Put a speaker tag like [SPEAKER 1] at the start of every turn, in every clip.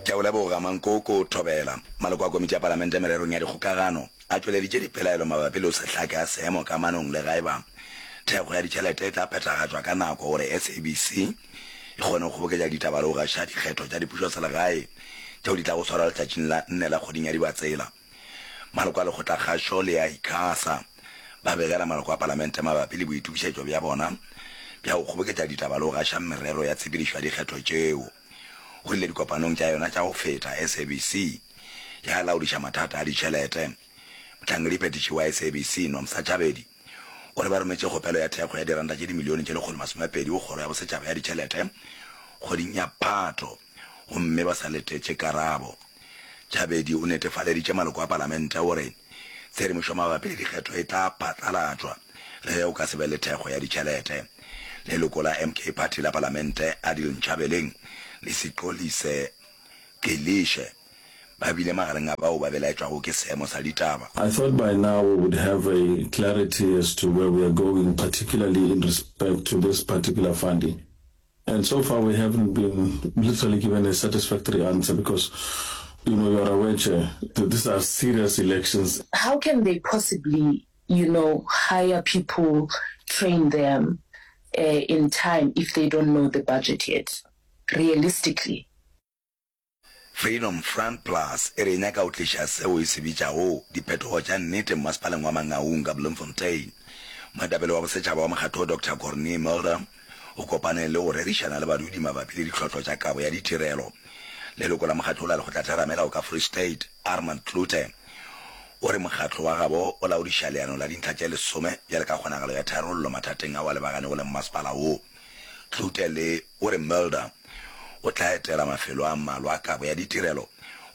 [SPEAKER 1] Ke a o leboga, Mankoko Thobela. Maloko a Komiti ya Palamente Mererong ya Dikgokagano a tšweleditše dipelaelo mabapi le go se hlake ga seemo kamanong le ga eba thekgo ya ditšhelete e tla phethagatšwa ka nako gore SABC e kgone go kgoboketša ditaba le go gaša dikgetho tša dipušoselegae tšeo di tlago swarwa letšatšing la nne la kgweding ya Dibatsela. Maloko a Lekgotlakgašo le a ICASA ba begela maloko a Palamente mabapi le boitokišetšo bja bona bja go kgoboketša ditaba le go gaša merero ya tshepedišo ya dikgetho tšeo. Go rile dikopanong tša yona tša go feta, SABC ya laodiša mathata a ditšhelete. Mohlankediphethiši wa SABC, Nomsa Chabedi, o re ba rometše kgopelo ya thekgo ya diranta tše dimilione tše 120 go Kgoro ya Bosetšhaba ya Ditšhelete kgweding ya Phato gomme ba sa letetše karabo. Chabedi o netefaleditše maloko a palamente gore tshedimošo mabapi le dikgetho e tla phatlalatšwa le ge go ka se be le thekgo ya ditšhelete. Leloko la MK Party la palamente Adil Nchabeleng le Sixolise Gcilishe ba bile magareng a bao ba belaetšwago ke seemo sa ditaba.
[SPEAKER 2] I thought by now we would have a clarity as to where we are going, particularly in respect to this particular funding. And so far we haven't been literally given a satisfactory answer because, you know, you are aware, Chair, that these are serious elections.
[SPEAKER 3] How can they possibly, you know, hire people, train them in time if they don't know the budget yet, realistically?
[SPEAKER 1] Freedom Front Plus e re e nyaka go tliša seo e se bitšago diphetogo tša nnete mmasepaleng wa Mangaung ka Bloemfontein. Moetapele wa bosetšhaba wa mokgatlo wo Doctor Corné Mulder o kopane le go rerišana le badudi mabapi le ditlhohlo tša kabo ya ditirelo. Leloko la mokgatlo wo la lekgotlatheramelao ka Free State, Armand Cloete, o re mokgatlo wa gabo o laodiša leano la dintlha tše lesome bjale ka kgonagalo ya tharollo mathateng ao a lebaganego le mmasepala wo. Cloete le o re Mulder o tla etela mafelo a mmalwa a kabo ya ditirelo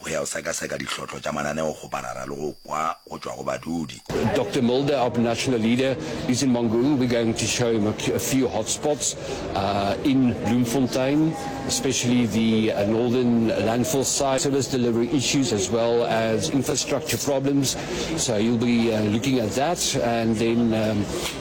[SPEAKER 1] go ya go sekaseka dihlotlo tša mananeokgoparara le go kwa go tšwa go badudi.
[SPEAKER 4] Doctor Mulder, our national leader, is in Mangaung. We're going to show him a few hot spots in Bloemfontein, especially the northern landfill site, service delivery issues as well as infrastructure problems. So he'll be looking at that, and then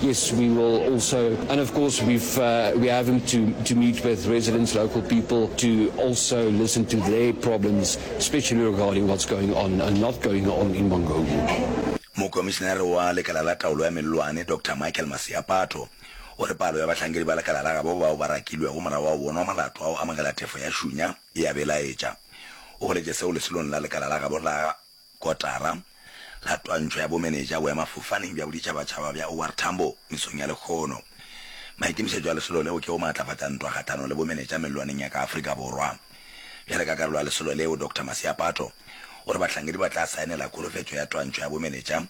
[SPEAKER 4] yes, we will also, and of course we've we have him to to meet with residents, local people, to also listen to their problems, especially regarding what's going on and not going on in Mangaung.
[SPEAKER 1] Mokomišenare wa Lekala la Taolo ya Mellwane, Doctor Michael Masiapato, o re palo ya bahlankedi ba lekala la gabo bao ba rakilwego morago ga go bonwa molato wa go amogela tefo ya šunya e a belaetša. O boletše seo lesolong la lekala la gabo la Kotara la twantšho ya bomenetša boemafofaneng bja boditšhabatšhaba bja OR Tambo mesong ya lehono. Maikemišetšo a lesolo leo ke go maatlafatša ntwa kgahlanong le bomenetša mellwaneng ya ka Afrika Borwa. Bjale ka karolo ya lesolo leo, Doctor Masiapato o re bahlankedi ba tla saenela kholofetšo ya twantšho ya bomenetša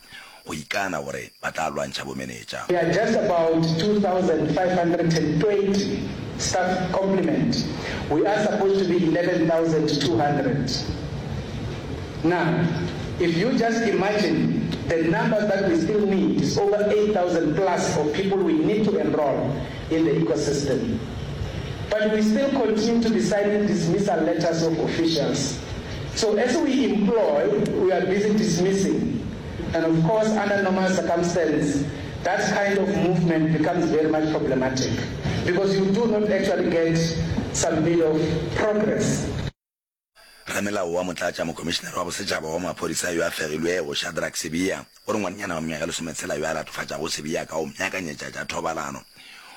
[SPEAKER 1] go ikana gore ba tla lwantšha bomenetša.
[SPEAKER 5] We are just about 2,520 staff complement. We are supposed to be 11,200. Now, if you just imagine the numbers that we still need is over 8,000 plus of people we need to enroll in the ecosystem. But we still continue to be signing dismissal letters of officials. So as we employ, we are busy dismissing. And of course, under normal circumstances, that kind of movement becomes very much problematic because you do not actually get some bit of progress.
[SPEAKER 1] Ramelao wa Motlatša Mokomišenare wa Bosetšhaba wa Maphodisa yo a fegilwego, Shadrack Sibiya, o re ngwanenyana wa mengwaga e lesometshela yo a latofatšago Sibiya ka go mmeakanyetša tša thobalano,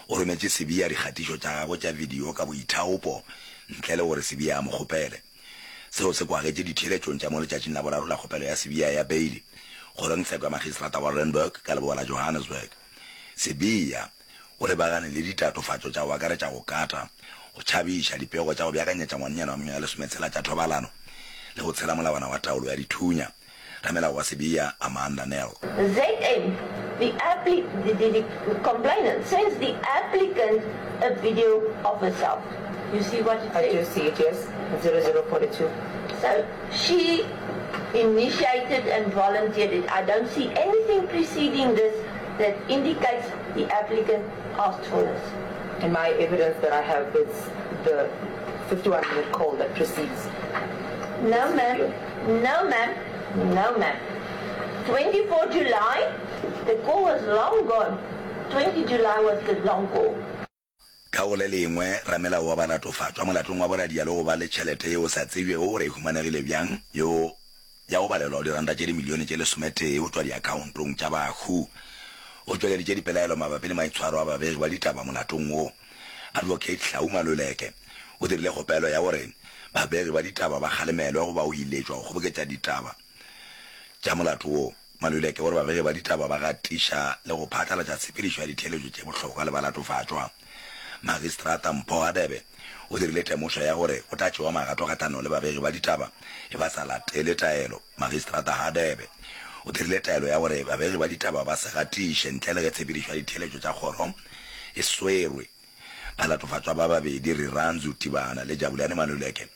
[SPEAKER 1] o rometše Sibiya dikgatišo tša gagwe tša video ka boithaopo ntle le gore Sibiya a mo kgopele. Seo se kwagetše ditheeletšong tša mo letšatšing la boraro la kgopelo ya Sibiya ya beili kgorongtsheko ya Magistrata wa Randburg ka leboa la Johannesburg. Sibiya o lebagane le ditatofatšo tša go akaretša go kata, go tšhabiša, dipego tša go beakanyetša ngwanenyana wa mengwaga e lesometshela tša thobalano le go tshela molawana wa taolo ya dithunya. Ramelao wa Sibiya, Amanda Nel.
[SPEAKER 6] ZM, the appli the, the, the complainant sends the applicant a video of herself. You see what it
[SPEAKER 7] I do
[SPEAKER 6] says?
[SPEAKER 7] see it, yes. 0042.
[SPEAKER 6] So she initiated and volunteered it. I don't see anything preceding this that indicates the applicant asked for this.
[SPEAKER 7] And my evidence that I have is the 51 minute call that precedes
[SPEAKER 6] No
[SPEAKER 7] this
[SPEAKER 6] ma'am,
[SPEAKER 7] video.
[SPEAKER 6] no ma'am, no ma'am. 24 July, the call was long gone. 20 July was the long call.
[SPEAKER 1] Ka go le lengwe, ramelao wa balatofatšwa molatong wa boradia le go ba le tšhelete yeo sa tsebjego gore e humanegile bjang, yo ya go balelwa go diranta tše dimilione tše lesometee go tšwa diakhaontong tša bahu, o tšweleditše dipelaelo mabapi le maitshwaro a babegi ba ditaba molatong wo. Advocate Hlau Maluleke o dirile kgopelo ya gore babegi ba ditaba ba kgalemelwe goba go iletšwa go kgoboketša ditaba tša molato wo. Maluleke o re babegi ba ditaba ba gatiša le go phatlalatša tshepedišo ya ditheeletšo tše bohlokwa le balatofatšwa. Magistrata Mpho Hadebe o dirile temošo ya gore go tla tšewa magato kgahlanong le babegi ba ditaba ge ba sa latele taelo. Magistrata Hadebe o dirile taelo ya gore babegi ba ditaba ba se gatiše ntle le ge tshepedišo ya ditheeletšo tša kgoro e swerwe. Balatofatšwa ba babedi, Rirhandzu Tibana le Jabulani Maluleke,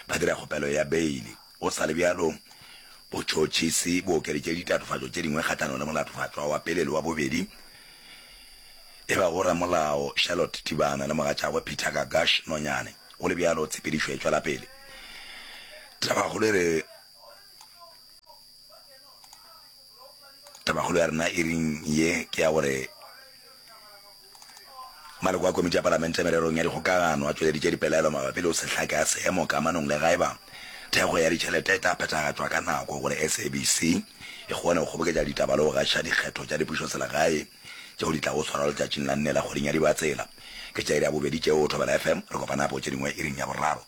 [SPEAKER 1] ba dira kgopelo ya beili. Go sa le bjalo, botšhotšhisi bo okeditše ditatofatšo tše dingwe kgahlanong le molatofatšwa wa pele le wa bobedi, e bago ramolao Charlotte Tibana le mogatšagwe Peter Gagash Nonyane. Go le bjalo, tshepedišo e tšwela pele. Tabakgolo e re. Tabakgolo ya rena iring ye ke ya gore maloko a komiti ya palamente mererong ya dikgokagano a tšweleditše dipelaelo mabapi le go se hlake ga seemo kamanong le gaeba thekgo ya ditšhelete e tla phethagatšwa ka nako gore SABC e kgone go kgoboketša ditaba le go gaša dikgetho tša dipušoselegae tšeo di tlago swarwa letšatšing la nne la kgweding ya Dibatsela. Ke tša iri ya bobedi tšeo, Thobela FM, re kopana gape go tše dingwe iring ya boraro.